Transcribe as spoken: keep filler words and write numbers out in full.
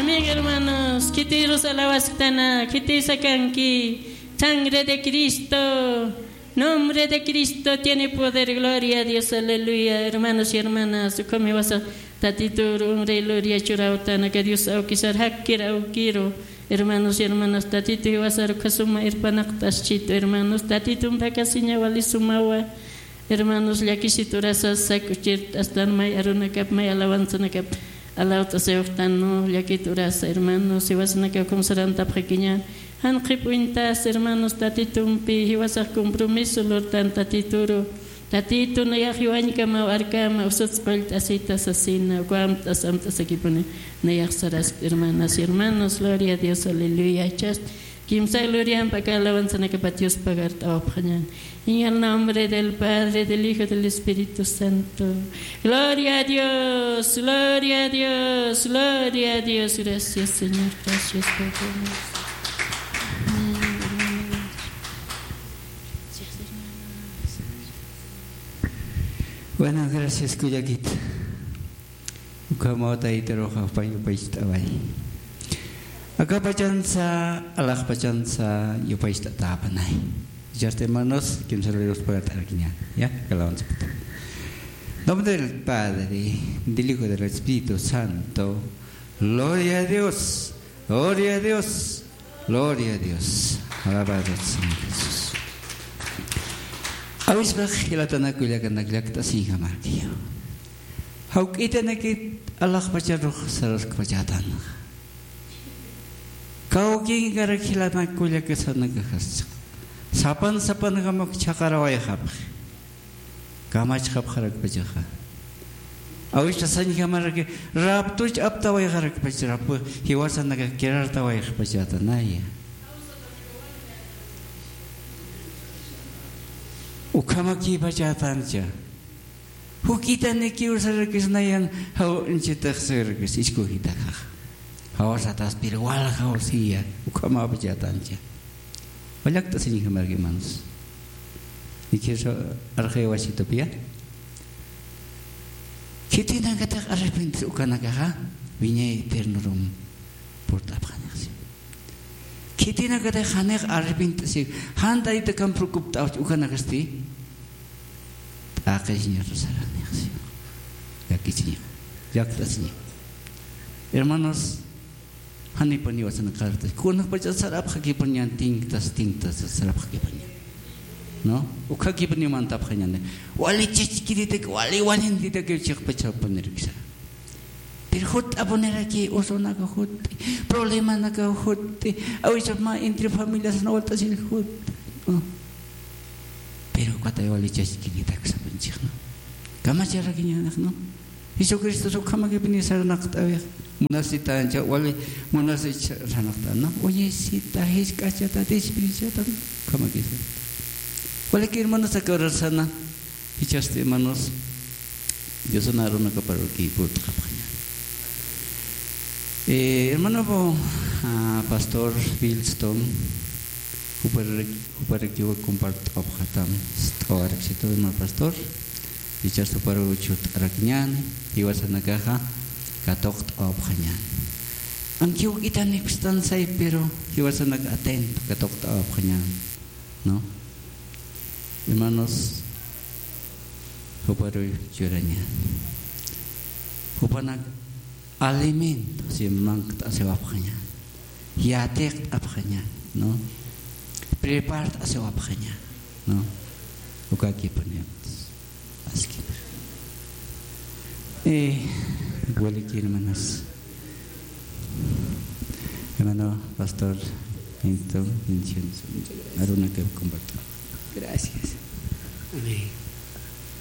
Amén, hermanos. Khitirus alawasktan, khitis akanki. Sangre de Cristo. Nombre de Cristo tiene poder. Gloria a Dios. Aleluya. Hermanos y hermanas, ukham jiwasa Tatitur umri gloria churawtan, aka Dios awkisar jakkir awkiru. Hermanos y hermanas, Tatitu jiwasar ukhasuma irpanaqt'aschitu, hermanos. Tatitun phakasiña wali sumawa. Hermanos, llakisiturasa sak'uchirt'astan may arunakap, may alawanzanakap alawt'asiwxtan, ¿no? Llakiturasa, hermanos, jiwasanakaw ukham sarantapxakiña. Jan qhip'uñtas, hermanos, Tatitumpi jiwasax compromiso lurtan Tatituru. Tatitu nayax jiwañkamaw arkama, usats qullt'asita sasina, uka amt'as amt'asakipuni nayax saraskt, hermanas y hermanos, gloria a Dios, aleluya. Jichhast kimsa gloriamp aka alawanzanakapat Dios pagart'awapxañan. En el nombre del Padre, del Hijo, del Espíritu Santo. Gloria a Dios, gloria a Dios, gloria a Dios. Gracias, Señor. Gracias, Padre. Amén, hermanos. Bueno, gracias, kullakit. Ukhamaw Taytarux jupay yupaycht'away. Akapachansa, alaxpachansa yupaycht'atäpanay. Jichhasti, hermanos, kimsa glorias pagart'arakiñäni. Ya, alawanza. Nombre del Padre, del Hijo, del Espíritu Santo. Gloria a Dios. Gloria a Dios. Gloria a Dios. Alabado Señor Jesús. Awispax jilatanaka kullakanak llakt'asiñjamarkiw. Jawk'itanakit alaxpacharux saraskpachätanxa. Kawkinkarak jilanak kullakasanakaxas. Sapan sapanjamaw chhaqarawayxapxi. Kamachxapxarakpachaxa. Awispax sañjamaraki, raptuch aptawayxarakpacha, rapu jiwasanakax kirartawayxpachätanaya. Ukhamakïpachätancha. Juk'itanikiw sarakis nayan, jaw inchitax sarakis, iskujitaxax. Jawasataspir waljaw siya, ukhamäpachätancha. Wallakt'asiñjamarki, hermanos. Ikhirsa arxaywasitupiya. Khitinakatix arrepentir ukanakaxa, wiñay eternorum purt'apxanixsi. Khitinakatix janix arrepentisi, jan Tayta ukham preocupt'awchi ukanakasti, t'aqisiñaru saranixsi. Llakisiña, llakt'asiña. Hermanos, janipuniw jiwasanak qartas. Kunapachat sarapxakipuniñan, tinktas, tinktas sarapxakipuniñan. ¿No? Ukakipuniw mantapxañäni. Wali chachkiritak, wali walintitak chiqpachapunirakisa. Pero jutt'apuniraki, usunaka jutti, problemanaka jutti, a veces mä entre familias na walt'asir jutti, ¿no? Pero ukatay wali chachkiritak sapanchix, ¿no? Kamacharakiñanix, ¿no? Jesucristo ukhamakipuni sarnaqt'awix, munasitancha, wali munasich sarnaqt'an, ¿no? Uñisita, jisk'achata, desperdiciata, ukhamakisa. Waliki hermanos, aka urasana. Jichhasti, hermanos, Diosana arunakaparuki purt'apxaña. Eh, hermano, ah, pastor Bilston, jupar-, juparakiwa compart'apxatam, st'awaraksitu, hermano pastor. Jichhasti juparu churt'arakiñäni, jiwasanakaxa katuqt'apxañäni. Aunque juk'itanik stansay, pero jiwasanak atento katuqt'apxañäni. ¿No? Hermanos, juparuy churaña. Jupanak alimento, si mankt'asiwapxaña. Yatiqt'apxaña, ¿no? Prepart'asiwapxaña, ¿no? Ukakipuniw. Aski. Eh, igual aquí, hermanas. Hermano pastor, Winston, bendiciones. Arunaka comparto. Gracias. Amén.